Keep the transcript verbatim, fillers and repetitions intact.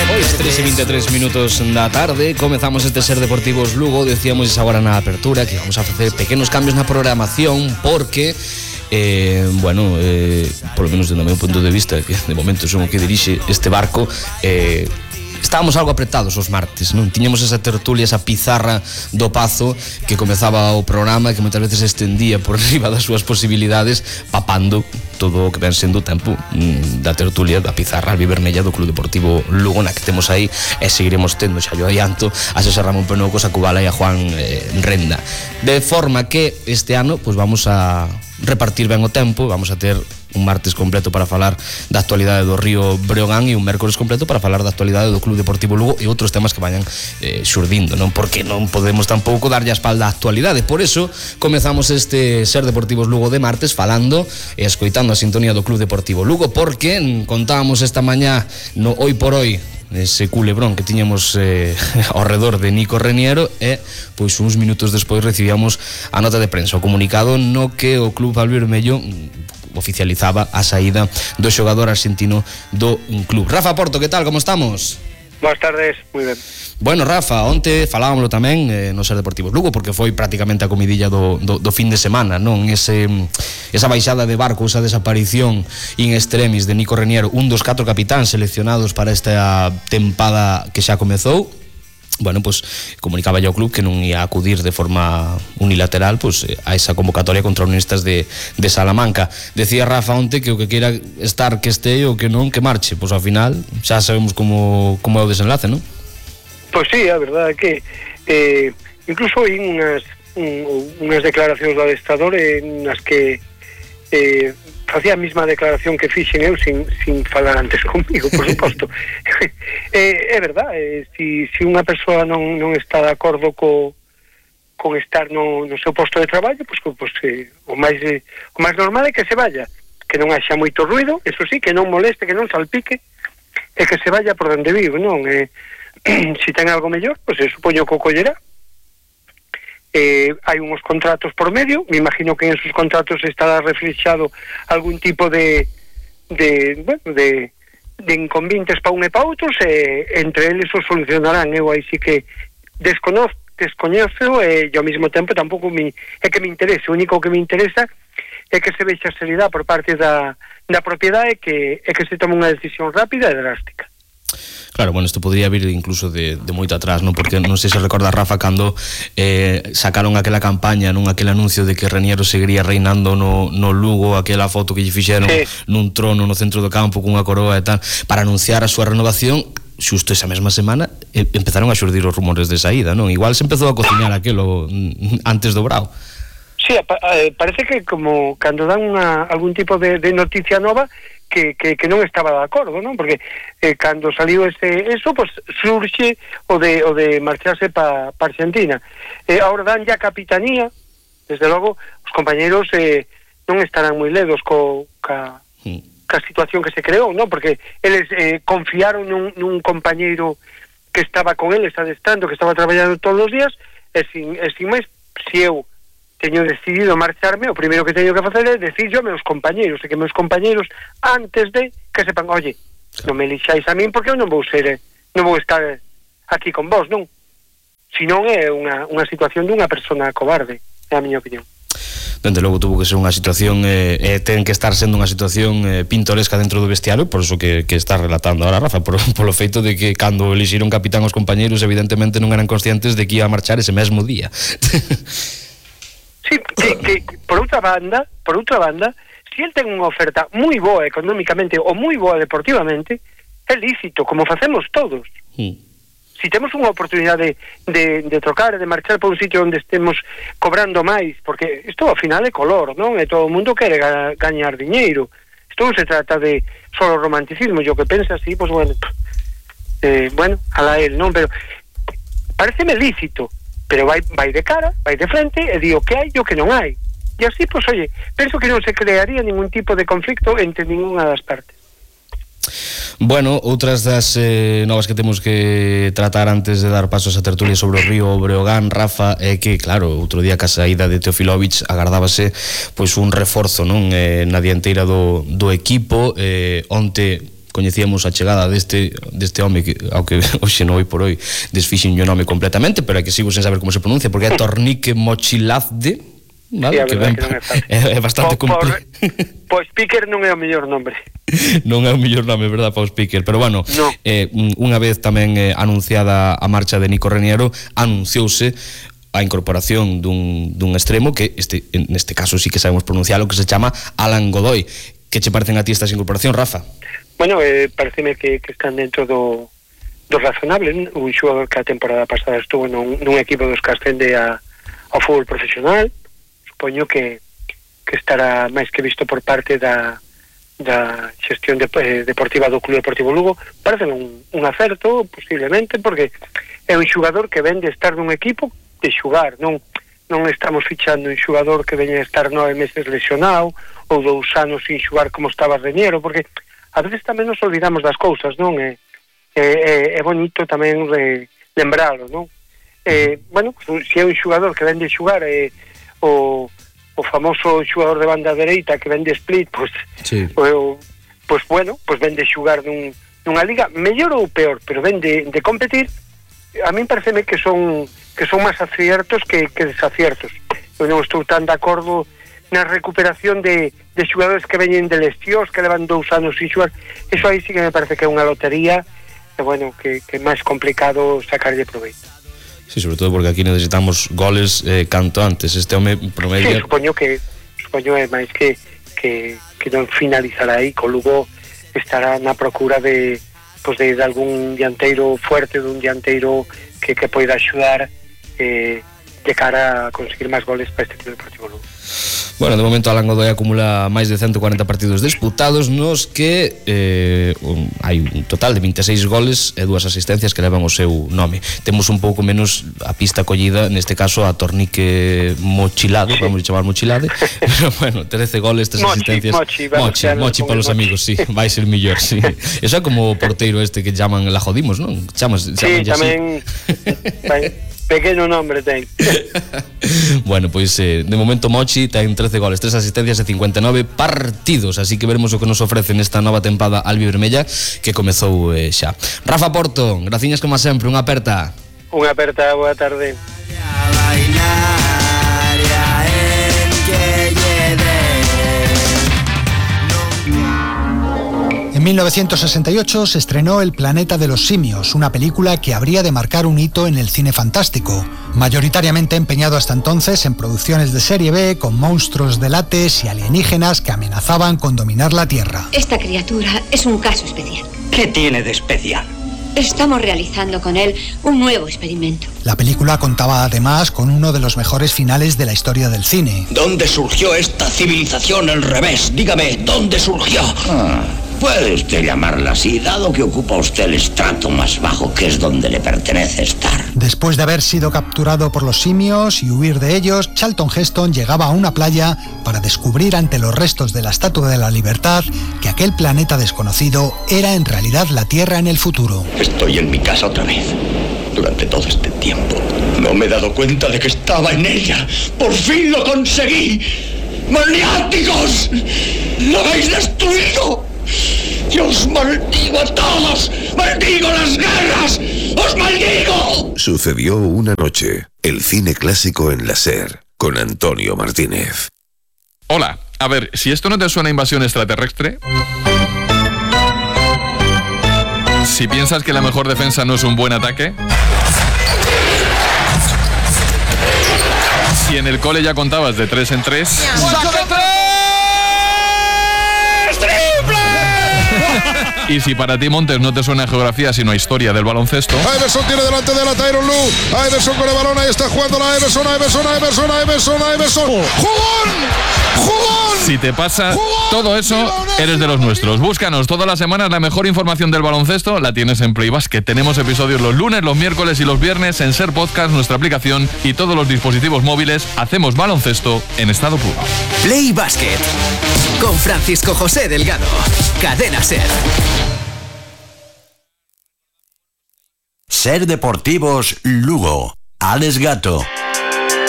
Pois tres e vinte e tres minutos da tarde comezamos este Ser Deportivos Lugo. Decíamos agora na apertura que vamos a facer pequenos cambios na programación porque eh, bueno, eh, por lo menos do meu punto de vista, que de momento son o que dirixe este barco, eh, estábamos algo apretados os martes, non? Tiñamos esa tertulia, esa pizarra do Pazo que comezaba o programa e que moitas veces se estendía por riba das súas posibilidades, papando todo o que ven sendo o tempo mm, da tertulia, da pizarra albivermella do Club Deportivo Lugo, na que temos aí e seguiremos tendo, xa yo adianto, a Xosé Ramón Penocos, a Cubala e a Juan eh, Renda. De forma que este ano pues, vamos a repartir ben o tempo, vamos a ter un martes completo para falar da actualidade do Río Breogán e un mércores completo para falar da actualidade do Club Deportivo Lugo e outros temas que vayan eh, xurdindo, non? Porque non podemos tampouco darlle a espalda á actualidade. Por eso comezamos este Ser Deportivos Lugo de martes falando e escoitando a sintonía do Club Deportivo Lugo, porque contábamos esta mañá no Hoy por Hoy ese culebrón que tiñamos eh, ao redor de Nico Reniero e pois uns minutos despois recibíamos a nota de prensa, o comunicado no que o Club Albivermello oficializaba a saída do xogador argentino do club. Rafa Porto, que tal, como estamos? Boas tardes, moi ben. Bueno, Rafa, onte falábamoslo tamén eh, no Ser Deportivos Lugo, porque foi prácticamente a comidilla do, do, do fin de semana, non? Ese, esa baixada de barco, esa desaparición in extremis de Nico Reniero, un dos catro capitáns seleccionados para esta tempada que xa comezou. Bueno, pues comunicaba yo ao club que non ia acudir de forma unilateral pues, a esa convocatoria contra Unionistas de, de Salamanca. Decía Rafa onte que o que queira estar que este e o que non que marche. Pois pues, ao final xa sabemos como, como é o desenlace, non? Pois pues sí, a verdade é que eh, incluso hai unhas, un, unhas declaracións do adestrador en as que eh, facía a mesma declaración que fixen eu sin, sin falar antes comigo, por suposto. eh, é verdade, eh, si, si unha persoa non, non está de acordo co, con estar no, no seu posto de traballo, pues, pues, eh, o, máis, eh, o máis normal é que se vaya, que non haxa moito ruido, eso sí, que non moleste, que non salpique, e que se vaya por onde vive, non? Eh, si ten algo mellor, pues, eh, supoño que o collerá. Eh, hai uns contratos por medio, me imagino que en esos contratos estará reflexado algún tipo de de, bueno, de, de inconvenientes para un e para outros e entre eles os solucionarán. Eu aí sí que desconozco, descoñezo e ao mesmo tempo tampouco me, é que me interese, o único que me interesa é que se vexa seriedade por parte da, da propiedade e que, é que se tome unha decisión rápida e drástica. Claro, bueno, isto podría vir incluso de, de moito atrás, non? Porque non sei se recorda Rafa cando eh, sacaron aquela campaña, non? Aquel anuncio de que Reniero seguiría reinando no, no Lugo, aquela foto que lle fixeron sí. nun trono no centro do campo cunha coroa e tal, para anunciar a súa renovación. Xusto esa mesma semana eh, empezaron a xurdir os rumores de saída, non? Igual se empezou a cociñar aquelo antes do brao. Sí, parece que como cando dan unha, algún tipo de, de noticia nova que, que, que non estaba de acordo, non? Porque eh, cando saliu ese, eso, pues surxe o de, o de marcharse para pa Argentina. Eh, ahora dan ya capitanía, desde logo, os compañeros eh, non estarán moi ledos co, ca, ca situación que se creou, non? Porque eles eh, confiaron nun, nun compañeiro que estaba con eles adestrando, que estaba traballando todos os días, e sin, e sin máis, se eu teño decidido marcharme, o primeiro que teño que facer é decir yo a meus compañeros, e que meus compañeros antes de que sepan, oye, non me lixáis a min porque eu non vou ser, non vou estar aquí con vos, non? Si non é unha, unha situación dunha persona cobarde, é a miña opinión. Dende logo tuvo que ser unha situación eh, eh, ten que estar sendo unha situación eh, pintoresca dentro do vestiario, por eso que, que está relatando ahora Rafa, por, polo feito de que cando elixiron capitán os compañeros evidentemente non eran conscientes de que iba a marchar ese mesmo día. Sí, que, que por outra banda, por outra banda, si el ten unha oferta moi boa económicamente ou moi boa deportivamente, é lícito, como facemos todos. Sí. Si temos unha oportunidade de, de trocar e de marchar por un sitio onde estemos cobrando máis, porque isto ao final é color, non? E todo o mundo quere ga, gañar diñeiro. Isto non se trata de solo romanticismo, yo que pensa así, pues bueno, eh, bueno, alá él, non? Pero pareceme lícito, pero vai, vai de cara, vai de frente e di o que hai e o que non hai. E así, pues, oye, penso que non se crearía ningún tipo de conflicto entre ninguna das partes. Bueno, outras das eh, novas que temos que tratar antes de dar pasos a tertulia sobre o Río Breogán, Rafa, é que, claro, outro día que a saída de Teofilovic agardábase pois un reforzo, non, eh, na dianteira do, do equipo. eh, onte coñecíamos a chegada deste deste home que, ao que hoxe non, hoy por hoy desfixen o nome completamente, pero é que sigo sen saber como se pronuncia, porque é Tornique Mochilazde, vale, sí, que ben, que non é, é, é bastante complicado. Pois Speaker non é o mellor nombre. Non é o mellor nome, verdad, para o Speaker, pero bueno, no. eh, unha vez tamén eh, anunciada a marcha de Nico Reniero, anunciouse a incorporación dun, dun extremo que este, en este caso sí que sabemos pronunciar, o que se chama Alan Godoy. Que che parecen a ti estas incorporacións, Rafa? Bueno, eh, pareceme que, que están dentro do, do razonable. Un xogador que a temporada pasada estuvo nun, nun equipo dos que ascende a, ao fútbol profesional. Supoño que, que estará máis que visto por parte da, da xestión de, eh, deportiva do Club Deportivo Lugo. Parece un, un acerto, posiblemente, porque é un xogador que ven de estar nun equipo de xugar, non non estamos fichando un xogador que veña a estar nove meses lesionado ou dous anos sin xugar como estaba Reñero, porque a veces tamén nos olvidamos das cousas, non? É, é, é bonito tamén re, lembralo, non? Eh, bueno, se é un xogador que ven de xugar é o, o famoso xogador de banda dereita que ven de split, pois sí. o, pois bueno, pois ven de xugar nun, nunha liga mellor ou peor, pero ven de, de competir. A min pareceme que son que son máis aciertos que, que desaciertos. Eu non estou tan de acordo na recuperación de, de xogadores que veñen de lesións, que levan dous anos sin xogar. Eso aí sí que me parece que é unha lotería, e bueno, que, que é máis complicado sacarlle proveito. Sí, sobre todo porque aquí necesitamos goles eh, canto antes. Este home promedia... Sí, supoño que supoño é máis que, que, que non finalizará aí, co Lugo estará na procura de, pues de, de algún dianteiro fuerte, dun dianteiro que, que poida axudar eh, de cara a conseguir máis goles para este Club Deportivo Lugo. Bueno, de momento Alan Godoy acumula máis de ciento cuarenta partidos disputados, nos que eh, un, hai un total de veintiséis goles e dúas asistencias que levan o seu nome. Temos un pouco menos a pista collida, neste caso a Tornique Mochilade, sí. Vamos a chamar Mochilade, pero bueno, trece goles, tres mochi, asistencias. Mochi, mochi, mochi para os amigos, sí, vai ser millor, sí. Eso é como o porteiro este que chaman La Jodimos, non? Chamas, sí, tamén pequeno nombre ten. Bueno, pois eh, de momento Mochi ten trece goles, tres asistencias e cincuenta e nove partidos, así que veremos o que nos ofrece nesta nova tempada albivermella que comezou eh, xa. Rafa Porto, graciñas como sempre, unha aperta. Unha aperta, boa tarde. En mil novecientos sesenta y ocho se estrenó El planeta de los simios, una película que habría de marcar un hito en el cine fantástico, mayoritariamente empeñado hasta entonces en producciones de serie B con monstruos de látex y alienígenas que amenazaban con dominar la Tierra. Esta criatura es un caso especial. ¿Qué tiene de especial? Estamos realizando con él un nuevo experimento. La película contaba además con uno de los mejores finales de la historia del cine. ¿Dónde surgió esta civilización al revés? Dígame, ¿dónde surgió? Ah, puede usted llamarla así, dado que ocupa usted el estrato más bajo, que es donde le pertenece estar. Después de haber sido capturado por los simios y huir de ellos, Charlton Heston llegaba a una playa para descubrir ante los restos de la Estatua de la Libertad que aquel planeta desconocido era en realidad la Tierra en el futuro. Estoy en mi casa otra vez. Durante todo este tiempo no me he dado cuenta de que estaba en ella. ¡Por fin lo conseguí! ¡Maniáticos! ¡Lo habéis destruido! ¡Yo os maldigo a todos! ¡Maldigo las guerras! ¡Os maldigo! Sucedió una noche. El cine clásico en la SER, con Antonio Martínez. Hola, a ver, si esto no te suena a invasión extraterrestre... Si piensas que la mejor defensa no es un buen ataque... Si en el cole ya contabas de tres en tres... ¡Saca tres! Y si para ti, Montes, no te suena a geografía sino a historia del baloncesto... Iverson tiene delante de la Tyronn Lue. Iverson con el balón, ahí está jugando la Iverson, Iverson, Iverson, Iverson, Iverson. ¡Jugón! ¡Jugón! Si te pasa todo eso, eres de los nuestros. Búscanos todas las semanas, la mejor información del baloncesto la tienes en Play Basket. Tenemos episodios los lunes, los miércoles y los viernes en SER Podcast, nuestra aplicación y todos los dispositivos móviles. Hacemos baloncesto en estado puro. Play Basket con Francisco José Delgado. Cadena SER. SER Deportivos Lugo. Alex Gato.